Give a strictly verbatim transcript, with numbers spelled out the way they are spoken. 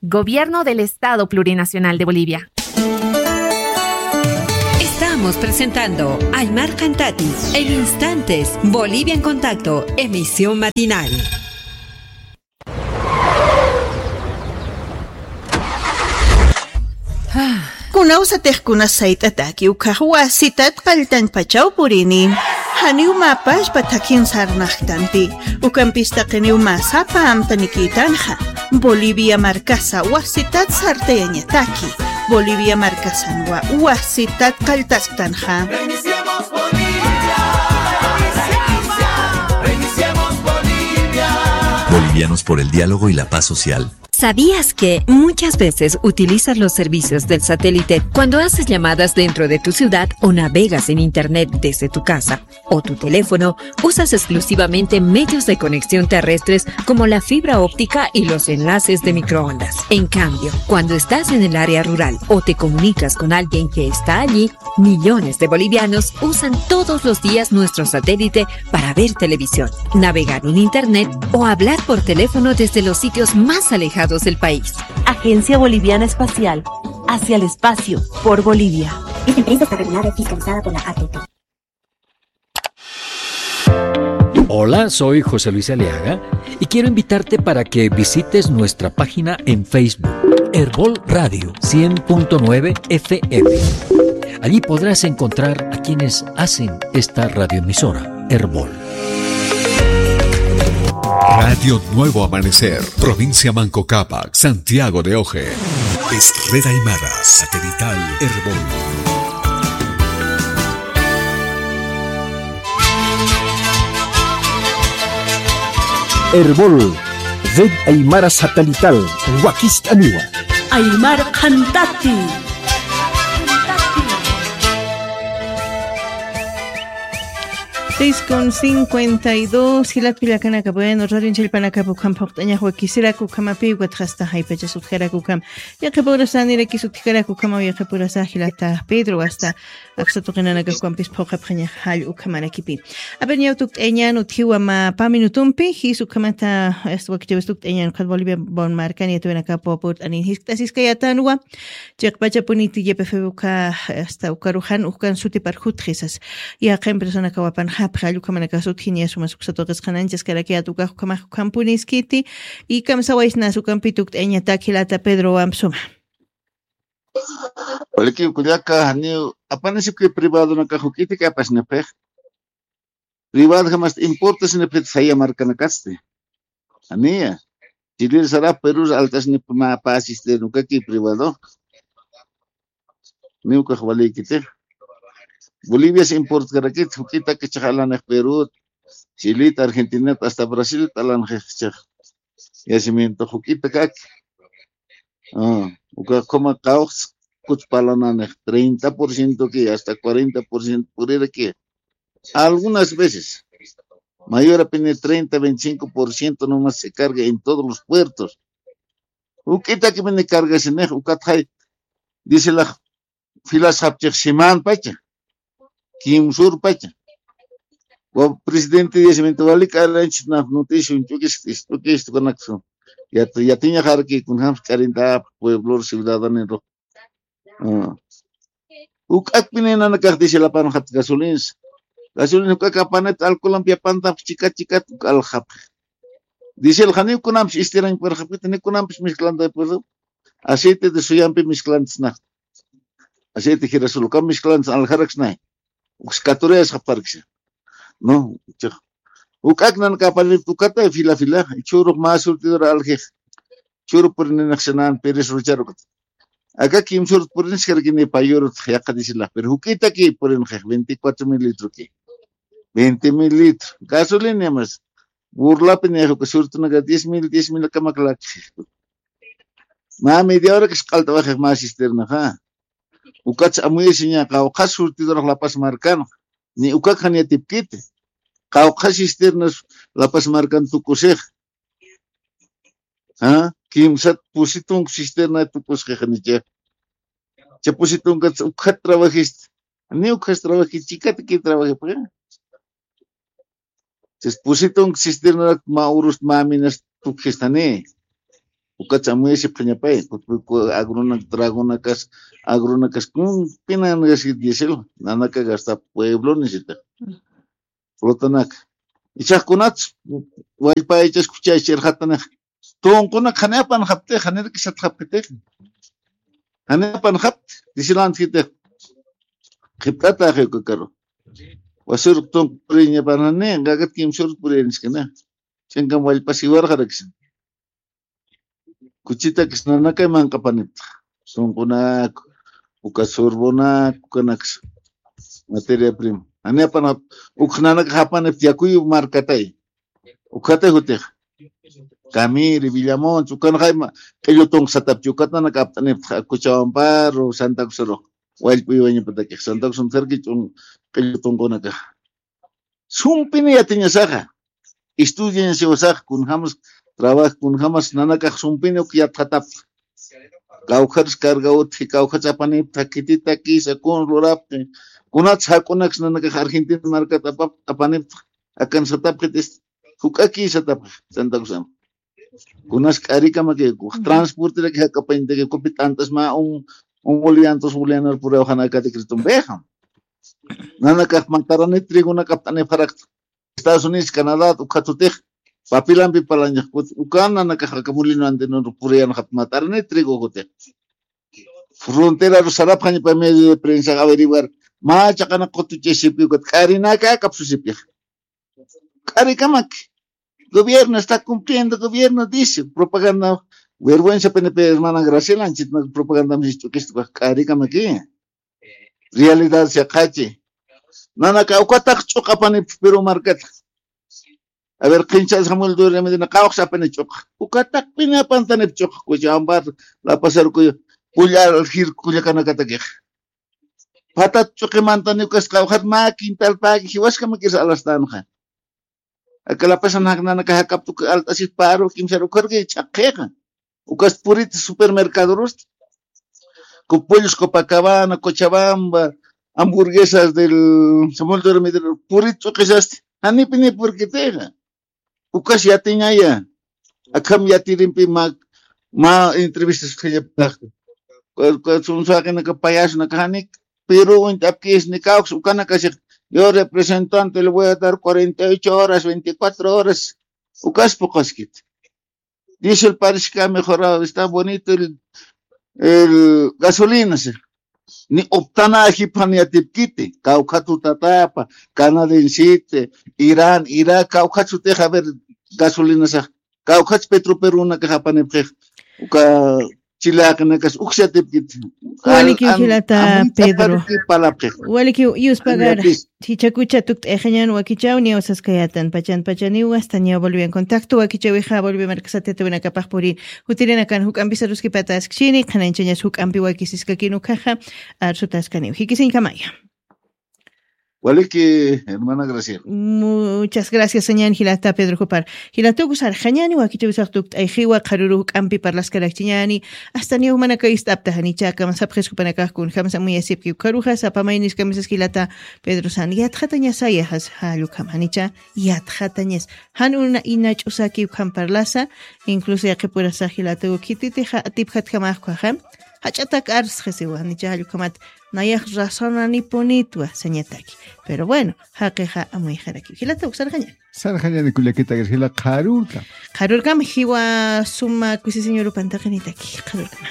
Gobierno del Estado Plurinacional de Bolivia. Estamos presentando Aymar Cantati en instantes. Bolivia en Contacto, emisión matinal. Kunawsatix kunas sayt'ataki ukkhax wasitat qalltañpachaw purini. Janiw mä pachpa thakhin sarnaqtanti. Ukampis taqiniw mä sapa amtanikïtanxa. Bolivia markasa wasitat sartayañataki. Bolivia markasanwa wasitat qalltasktanxa. Bolivianos por el diálogo y la paz social. ¿Sabías que muchas veces utilizas los servicios del satélite cuando haces llamadas dentro de tu ciudad o navegas en internet desde tu casa o tu teléfono? Usas exclusivamente medios de conexión terrestres como la fibra óptica y los enlaces de microondas. En cambio, cuando estás en el área rural o te comunicas con alguien que está allí, millones de bolivianos usan todos los días nuestro satélite para ver televisión, navegar en internet o hablar por teléfono desde los sitios más alejados del país. Agencia Boliviana Espacial, hacia el espacio, por Bolivia. Esta empresa está regulada y fiscalizada por la A T T. Hola, soy José Luis Aliaga y quiero invitarte para que visites nuestra página en Facebook, Erbol Radio cien punto nueve F M. Allí podrás encontrar a quienes hacen esta radioemisora, Erbol. Radio Nuevo Amanecer, provincia Manco Cápac, Santiago de Oje. Es Red Aymara, satelital Erbol. Erbol, Red Aymara Satelital, wakist'aniwa. Aymar Qhantati. Seis con cincuenta y dos, jilat pillakanaka, bueno, radio challpanakap ukham phuqt'añax wakisiraku ukhamapi, ukatxa asta jaypachas utjaraku ukham. Yaqhip urasaniraki utjaraku ukhamaw, yaqhip urasa jilata Pedro, asta aksa tuqinanaka ukampis phuqapxañax jall ukhamarakipi. A ver, ñaw tukt'ayañan utjiwa mä pä minutumpi, jis ukhamata, asta wakichäwis tukt'ayañan ukat Bolivia bon markan yatiyawinakap purt'anin jiskt'asiskayätanwa. Chiqpachapuniti Y P F B uka, asta ukaruxan ukan sutipar jutxi sas. Yaqha empresanakaw apanxapxi, jall ukhamanakax utjini, sumas uksa tuqisqan anchaskarakiyät ukax ukhamax ukhampuniskiti. Y kamsawaysnas ukampi tukt'ayañatak jilata Pedrowamp suma. Walikiw kullaka, janiw apanisipki privadonakax juk'itaki apasnipxix. Privadojamasti importasinipxit saya markanakasti. Janiya. Chilir sarap Perur alt'asinipxi mä pä cisterna ukaki privado. Niw ukax walïkiti. Bolivias importkarakit, juk'itaki chhax alanix Perut, Chilit, Argentinat, asta Brasilit alanxix chhax. Yacimiento juk'itakaki. Ah, uka ukhama qawqhas kutspa alananix treinta por ciento ki, hasta cuarenta por ciento puriraki. Algunas veces, mayorapini treinta, veinticinco por ciento nomás se carga en todos los puertos. Juk'itakipini cargasinix, ukatxay, dice la, filas japchix simanpacha, kimsurpacha. Wa presidente yacimiento walik alanchis naf noticion ch'ukis, ch'ukis tukanaksu. Yat-, yatiñaxarki kunjams k'arintap pueblo ciudadano. Ah. Uk'akpini nanakax diésel apanxat gasolins. Gasolins uk'ak apanit alcoholampi apantap chikat chikat uk alxapx. Diésel janiw kunamps istirañ purxapkit, ni kunamps misklanta purxap. Aceite de suyampi misklantsnax. Aceite girasol ukam misklantsna alxaraksnay. Uks catorayas japarksa. No, chix. Uk'ak nanakax apanit ukata fila fila. Churux mä surtidor aljix. Churu purininaxsanan Pérez Rochar ukat. Aka kimsur puriniskarkini payurut yaqha diéselax, pero juk'itaki purinxix veinticuatro mil litroki. Veinte mil litro. Gasolina mas. Burlapi nix uka surtunaka diez mil, diez mil akamak lakxix. Mä media horakas q'alt'awaxix mä cisternaxa. Ukats amuyasiña qawqhas surtidorax La Paz markanxa. Ni ukak jan yatipkiti. Qawqhas cisternas La Paz markan tukusix. ¿Ah? Kimsat pusi tunka cisterna tukusxi janicha. Cha pusi tunkat ukxat trabajista. Ni ukxas trabajista, chikat ki trabajipxi. Chis pusi tunka cisterna mä urus mä minas tukxistani. Ukatsa amuyasipxañapay, kutpuyku agronak, tragonakas, agronakas, kun, pinan gasi diésel, nanaka gasta pueblo nisita. Flotanaka. Ichax kunats, wallpa ichas kuchaychirxatanixa. Tunqunak janipan japtix, janirkisat japkitix. Janipan japt, disilantkitix. Qhipt'ataxi uka karu. Wasur tunquriñapan jani, qakat kimsur puriñaskana. Chinkam wallpasiwarxaraksa. Kuchitakis nanakay manq'apanipta. Sunqunak, uka surbonak, ukanaksa. Materia prima. Janipan jap, uk nanaka japanipta yakuyu markatay. Ukata jutix. Kamiri, Villamontes, ukan jayma, q'illu tunqsatapchi, ukat nanaka apt'anipta, Cochabambaru, Santa Cruzru. Wallp'uywañapatakix, Santa Cruz sarki ch'un, q'illu tunqunaka. Sumpini yatiñasaxa. Estudiañasiwasaxa, kunjamas, trabajo, kunjamas, nanakax sumpini uk yatxatapta. Kawkharis carga utji, kawkhats apanipta, khititakisa, kun lurapti. Kunats jak'unaks nanakax Argentina markat apap, apanipta. Akan satapxitis, juk'aki satapxi, Santa Cruzam. Kunas k'arikamaki, transporteraki jak'apañtaki, kupi t'ant'as mä un, un boliviano, dos bolivianos puriw janakati critumpixa. Nanakax mataranit trigonak apt'anipxarakta. Estados Unidos, Canadá, ukhatutix, papilampi parlañax, ukan nanakax aka molino andinur puriyanxat mataranit trigo jutix. Fronteraru sarapxañapa medio de prensa averiguar, mä chaqanak qutuchasipki ukat, k'arinaka kapsusipki. K'arikamaki. Gobierno está cumpliendo, gobierno dice, propaganda, vergüenza pena pe hermana Graciela, anchitnak propaganda mis ch'ukistukax k'arikamaki. Realidad saqachi. Nanaka ukataq ch'uqapanip Perú markata. A ver, qinchas Samuel Dueña Medina, qawqsa apani ch'uqa. Ukataq pina apantanip ch'uqa, Cochabamba, La Paz, Arucuyo, pullar jir kullakanakatakixa. Patat ch'uqimantani ukas qawqhat mä quintal pagi jiwaskamakis alastanxa. Aka La Paz nanaka jak'apta uka alt'asit paru kimsar ukharki ch'aqhixa. Ukas purit supermercadorusti. Con pollos Copacabana, Cochabamba, hamburguesas del Samuel Dueña Medina, purit ch'uqisasti. Janipini purkitixa. Ukas yatiñaya. Akham yatirimpi mä, mä entrevistas qhillaptaxta. Kua, kua, sunsaqinaka payasnaka janik, Perú uñt'apkis ni kawks, ukanakasix, yo representante le voy a dar cuarenta y ocho horas, veinticuatro horas. Ukas puqaskit. Diésel parece que ha mejorado, está bonito el, el gasolina, sí. Ni optana ajipxan yatipkiti, kawkhat tutatapa, canadiensite, Irán, Irak, kawkhat sutix, a ver, gasolinasax, kawkhat petroperunakax apanipxix, uka chilaqinakas uksatipkiti. Waliki jilata Pedro. Waliki yuspagar. Jichakucha tukt'ayxañan wakichaw, niyaw saskayatan, pachan pachaniw, hasta niyaw volvian contacto, wakichawixa, volvi markasatitawinakapax puri, jutirinakan juk'ampi saruskipataskchini, qhanañchañas juk'ampi wakisiskakin ukhaxa, arsutaskaniw. Jikisiñkamaya. Waliki, hermana Graciela. Muchas gracias, sañan jilata Pedro Jupar. Jilatuku sarxañani wakichawisax tukt'ayxiwa, qharuru juk'ampi parlaskarakchiñani, hasta niyaw jumanaka ist'apta janicha, akam sapxiskupanakax kunjamsa muyasipki ukharuxa, sapa mayniskamisas jilata Pedro san, yatxatañasaya jas, jallukam janicha, yatxatañas. Jan una inach'usaki ukham parlasa, incluso yaqipurasa jilatuku khititixa atipjatjamaxkuxa, jach'atak arsxisiwa janicha, jallukhamat, nayax razonanipunitwa sañataki. Pero bueno, jaqixa amuyxaraki. Jilata uk sarxañan. Sarxañani kullakitagir jila qharurkam. Qharurkam jiwa suma kusisiñurupan taqinitaki. Qharurkam.